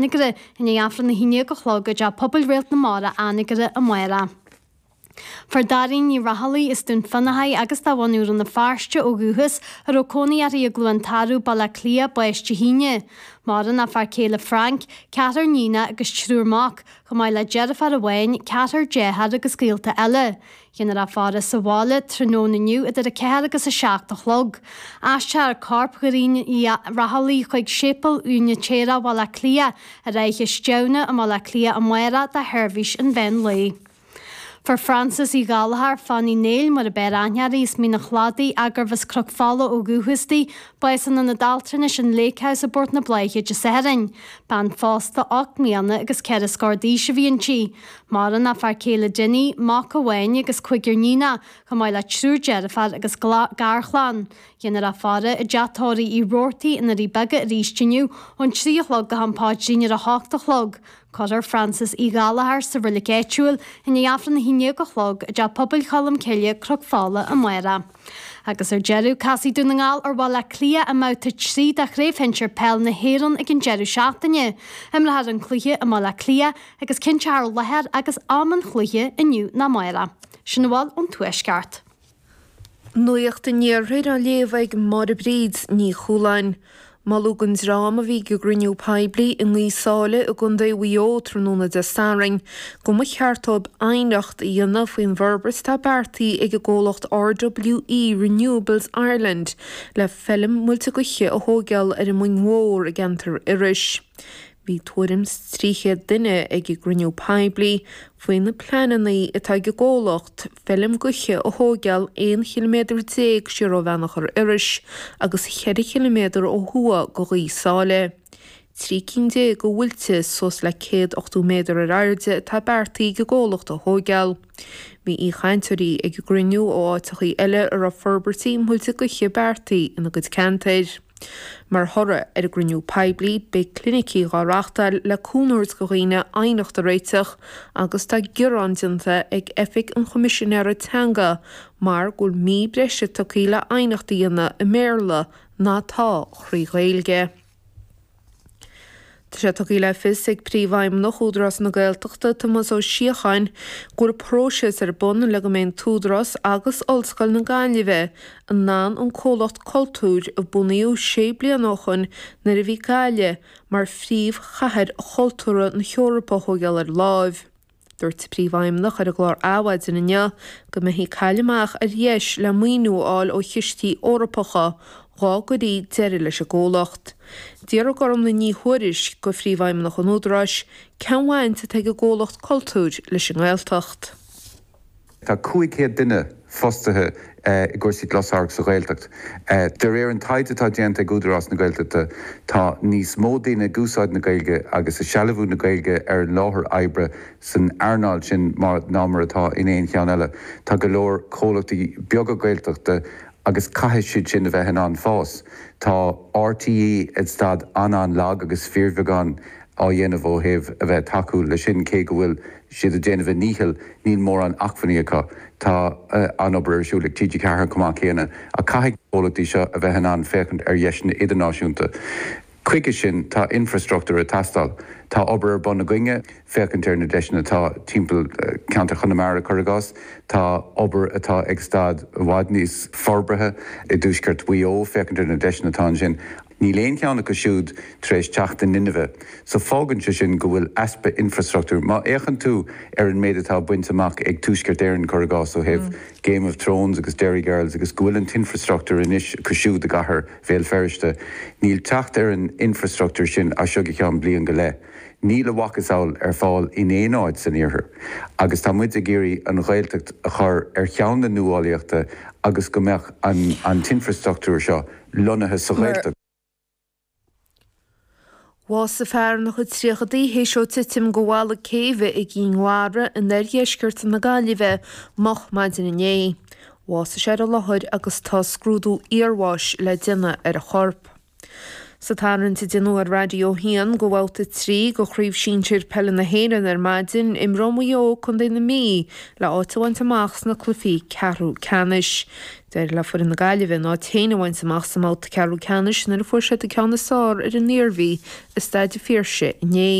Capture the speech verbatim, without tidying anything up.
Anagaire i ndiaidh Aifreann a haon déag a chlog i dTeach Pobail Réalt na Mara, Anagaire, amárach. Fuair Dairín Ní Raghallaigh as Dún Fionnachaidh agus de bhunadh Rann na Feirste ó dhúchas, a raibh cónaí uirthi i gCluain Tarbh, Baile Átha Cliath, bás Dé hAoine. Maireann a fear céile Frank, ceathrar níonach agus triúr mac, chomh maith le deirfiúr amháin, ceathrar dearthár agus gaolta eile. Déanfar a faire sa bhaile tráthnóna inniu idir a ceathair agus a seacht a chlog. Aistreofar corp Dhairín Uí Raghallaigh chuig Séipéal Úinitéireach Bhaile Átha Cliath ar Fhaiche Stiabhna i mBaile Átha Cliath amárach do sheirbhís an mheán lae. Fuair Frances Uí Ghallchóir, Fanny Néill mar ab fhearr aithne uirthi, as Mín an Chladaigh, ach gurbh as Cnoc Fola ó dhúchas di, bás in Ionad Altranais an Lake House i bPort na Bláiche Dé Sathairn. Bean phósta ocht mbliana agus ceithre scór d'aois a bhí inti. Maireann a fear céile Dinny, mac amháin agus cúigear níonach, chomh maith le triúr deirfiúr agus garchlann. Déanfar a faire i dteach tórraimh Uí Robhartaigh i nDoirí Beaga arís inniu ón trí a chlog go ham paidrín ar a hocht a chlog. Cuirfear Frances Uí Ghallchóir sa reilig áitiúil i ndiaidh Aifreann a haon déag a chlog i dTeach Pobail Cholm Cille, Cnoc Fola, amárach. Agus ar deireadh, casfaidh Dún na nGall ar Bhaile Átha Cliath i mbabhta trí de Chraobh Shinsir Peil na hÉireann ag an deireadh seachtaine. Imreofar an cluiche i mBaile Átha Cliath agus cinnteofar láthair agus am an chluiche inniu nó amárach. Sin a bhfuil ón Tuaisceart. Nuacht an Iarthair á léamh ag Máire Bríd Ní Chualáin. Moladh don dream a bhí ag an gcruinniú poiblí i nGaoth Sáile i gContae Mhaigh Eo tráthnóna Dé Sathairn go mba cheart dóibh aighneacht a dhéanamh faoin bhforbairt atá beartaithe ag an gcomhlacht RWE Renewables Ireland le feilm muilte gaoithe a thóigeáil ar an Mhoing Mhór i gceantar Iorrais. Bhí tuairim 's trí chéad duine ag an gcruinniú poiblí faoi na pleananna atá ag an gcomhlacht feilm gaoithe a thóigeáil aon chiliméadar déag siar ó Bheannachar Iorrais agus cheithre chiliméadar ó thuaidh go Ghaoth Sáile. Trí cinn déag de mhuilte suas le céad ochtó méadar ar airde atá beartaithe ag an gcomhlacht a thóigeáil. Bhí aoichainteoirí ag an gcruinniú ó áiteachaí eile a raibh forbairtí muilte gaoithe beartaithe ina gcuid ceantair. Mar thoradh ar an gcruinniú poiblí, beidh clinicí dhá reáchtáil le cúnamh a thabhairt do dhaoine aighneacht a réiteach agus tá gearán déanta ag Oifig an Choimisinéara Teanga mar go bhfuil mí breise tugtha le aighneacht a dhéanamh i mBéarla ná atá thrí Ghaeilge. Tá sé tugtha le fios ag Príomhfheidhmeannach Údarás na Gaeltachta, Tomás Ó Síocháin, go bhfuil próiseas ar bun le go mbeidh an tÚdarás agus Ollscoil na Gaillimhe in ann an comhlacht cultúir a bunaíodh sé bliana ó shoin nuair a bhí Gaillimh mar phríomhchathair chultúrtha na hEorpa a thógáil ar láimh. Dúirt an Príomhfheidhmeannach ar an gclár Adhmhaidin inniu go mbeifí ag cailleadh amach ar dheis le maoiniú a fháil ó chistí Eorpacha dhá gcuirí deireadh leis an gcomhlacht. D'fhiafraigh Gormlaith Ní Thuairisg de Phríomhfheidhmeannach an Údaráis cén bhaint atá ag an gcomhlacht cultúir leis an nGaeltacht. Tá cúig chéad duine fostaithe i gcúrsaí closamhairc sa Ghaeltacht. De réir an taighde atá déanta ag Údarás na Gaeltachta, tá níos mó daoine ag úsáid na Gaeilge agus ag sealbhú na Gaeilge ar an láthair oibre san earnáil sin ná mar atá in aon cheann eile. Tá go leor comhlachtaí beaga Gaeltachta agus caithfidh siad sin a bheith in ann fás. Tá RTÉ ag staid an-an-lag agus fíorbheagán á dhéanamh ó thaobh a bheith ag tacú leis sin, cé go bhfuil siad ag déanamh a ndíchill, níl mórán acmhainní acu. Tá an-obair ar siúl ag TG Ceathair chomh maith céanna, ach caithfidh na comhlachtaí seo a bheith in ann féachaint ar dheiseanna idirnáisiúnta. Chuige sin, tá infreastruchtúr ag teastáil. Tá obair ar bun againne féachaint ar na deiseanna atá timpeall ceantar Chonamara, cuir i gcás. Tá obair atá ag staid i bhfad níos forbartha i dtuaisceart Mhaigh Eo, féachaint ar na deiseanna atá ansin. Níl aon cheann acu siúd tar éis teacht in inmhe. So fágann sé sin go bhfuil easpa infreastruchtúir. Má fhéachann tú ar an méid atá bainte amach ag Tuaisceart Éireann, cuir i gcás, ó thaobh Game of Thrones agus Derry Girls agus go bhfuil an t-infreastruchtúr anois acu siúd i gcathair Bhéal Feirste, níl teacht ar an infreastruchtúr sin as seo go ceann bliain go leith. Níl a mhacasamhail ar fáil in aon áit san iarthar agus tá muid ag iarraidh an Ghaeltacht a chur ar cheann na nuálaíochta agus go mbeadh an t-infreastruchtúr seo lonnaithe sa Ghaeltacht. Bhásaigh fear ina chuid tríochadaí théis dó titim de bhalla céibhe i gCinn Mhara in oirdheisceart na Gaillimhe moch maidin inné. Bhásaigh sé ar an láthair agus tá scrúdú iarbháis le déanamh ar a chorp. Sa tarraingt a déanadh ar Raidió a hAon do bhabhta trí de Chraobh Shinsir Peile na hÉireann ar maidin, imreoidh Maigh Eo Contae na Mí le áit a bhaint amach sna cluichí ceathrú ceannais. D'éirigh le foireann na Gaillimhe a n-áit féin a bhaint amach sa mbabhta ceathrú ceannais nuair a fuair siad an ceann is fearr ar an Iarmhí i Staid an Phiarsaigh inné.